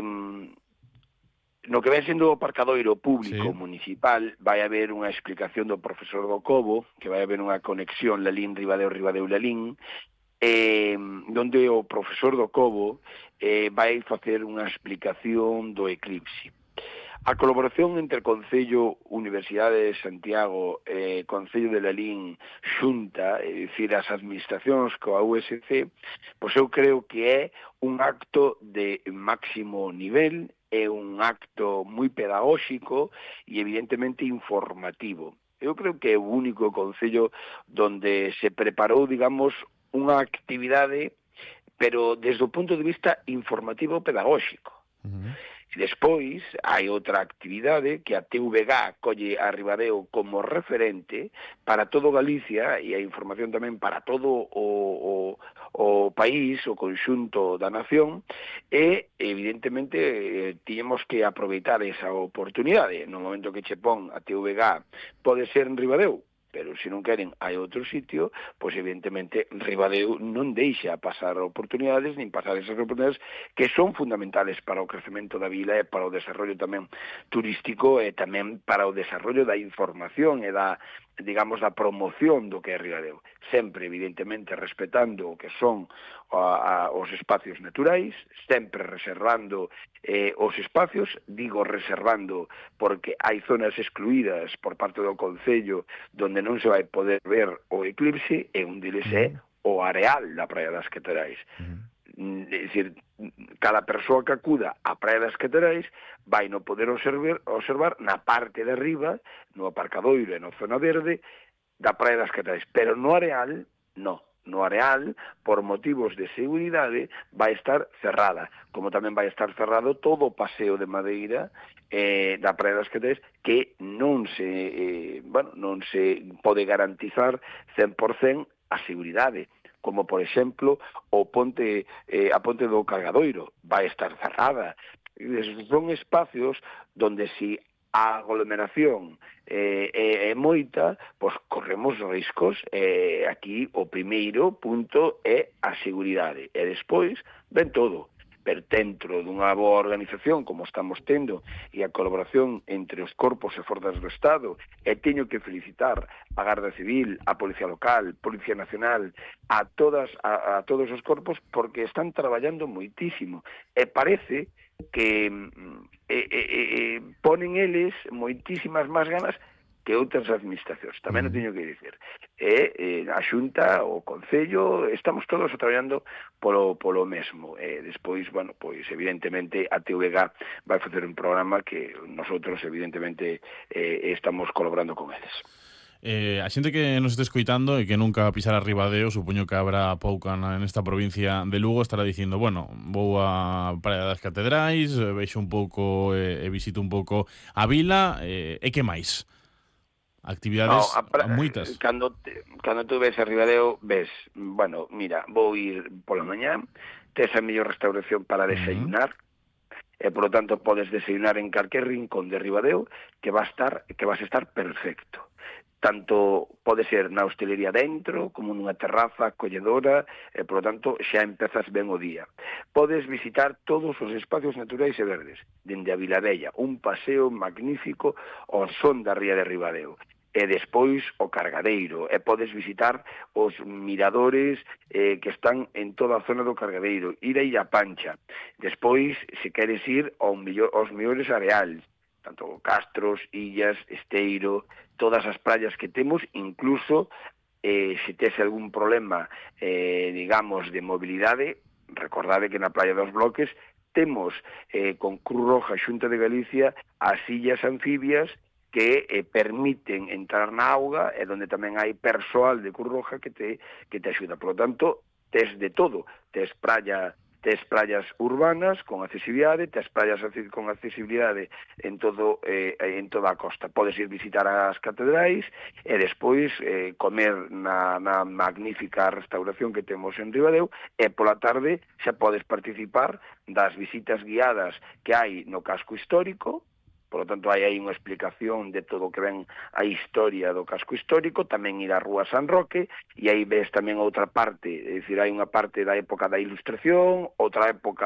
no que ven sendo o aparcadoiro público Sí. municipal vai haber unha explicación do profesor do Cobo, que vai haber unha conexión Lalín-Ribadeo-Ribadeo-Lalín, donde o profesor do Cobo vai facer unha explicación do eclipse. A colaboración entre Concello, Universidade de Santiago, Concello de Lalín, Xunta, é dicir, as administracións coa USC, pois eu creo que é un acto de máximo nivel, é un acto moi pedagóxico e evidentemente informativo. Eu creo que é o único concello donde se preparou, digamos, unha actividade, pero desde o punto de vista informativo pedagóxico. E despois hai outra actividade que a TVG colle a Ribadeo como referente para todo Galicia e a información tamén para todo o país, o conxunto da nación, e evidentemente tiñemos que aproveitar esa oportunidade. No momento que che pon a TVG pode ser en Ribadeo, pero se non queren hai outro sitio, pois evidentemente Ribadeo non deixa pasar oportunidades, nin pasar esas oportunidades que son fundamentales para o crecemento da vila e para o desarrollo tamén turístico e tamén para o desarrollo da información e da, digamos, da promoción do que é Ribadeo. Sempre, evidentemente, respetando o que son os espacios naturais, sempre reservando os espacios, digo reservando porque hai zonas excluídas por parte do Concello donde non se vai poder ver o eclipse, e un deles é o areal da Praia das Caterais. É dicir, cada persoa que acuda á Praia das Caterais vai no poder observar na parte de arriba, no aparcadoiro e na zona verde da Praia das Caterais, pero no areal, non. No areal, por motivos de seguridade, vai estar cerrada, como tamén vai estar cerrado todo o paseo de madeira da Praia das Caterais, que non se pode garantizar 100% a seguridade, como, por exemplo, a ponte do Cargadoiro vai estar cerrada. Son espacios donde si a aglomeración é moita, pois corremos riscos. Aquí o primeiro punto é a seguridade, e despois ven todo. Pero dentro dunha boa organización como estamos tendo e a colaboración entre os corpos e forzas do Estado, e teño que felicitar a Garda Civil, a Policía Local, Policía Nacional, a todos os corpos, porque están traballando moitísimo, e parece que ponen eles moitísimas máis ganas que outras administracións. Tamén o teño que dicir. A Xunta, o Concello, estamos todos traballando polo mesmo. Despois, bueno, pois evidentemente a TVG vai facer un programa que nosotros evidentemente estamos colaborando con eles. A xente que nos este escoitando e que nunca pisara Ribadeo, supoño que habrá pouca nesta provincia de Lugo, estará dicindo, bueno, vou a Praia das Catedrais, vexo un pouco e visito un pouco a vila, e que máis? Actividades moitas. Cando tú ves a Ribadeo, ves, bueno, mira, vou ir pola mañá, tes a mellor restauración para desayunar, e, por lo tanto, podes desayunar en calquer rincón de Ribadeo que vas a estar perfecto. Tanto pode ser na hostelería dentro, como nunha terraza acolledora, e, por lo tanto, xa empezas ben o día. Podes visitar todos os espacios naturais e verdes, dende a Vilavella, un paseo magnífico ao son da ría de Ribadeo. E despois o Cargadeiro, e podes visitar os miradores que están en toda a zona do Cargadeiro, ir a Illa Pancha. Despois, se queres ir aos mellores areais, tanto Castros, Illas, Esteiro, todas as praias que temos, incluso se tes algún problema, digamos, de mobilidade, recordade que na Praia dos Bloques temos con Cruz Roja, Xunta de Galicia, as illas anfibias que permiten entrar na auga, e donde tamén hai persoal de Cruz Roja que te axuda. Por lo tanto, tes de todo, tes praias urbanas con accesibilidade, tes praias con accesibilidade en toda a costa. Podes ir visitar as catedrais e despois comer na magnífica restauración que temos en Ribadeo, e pola tarde xa podes participar das visitas guiadas que hai no casco histórico. Por lo tanto, hai aí unha explicación de todo o que ven a historia do casco histórico, tamén ir á Rúa San Roque, e aí ves tamén outra parte, é dicir, hai unha parte da época da Ilustración, outra época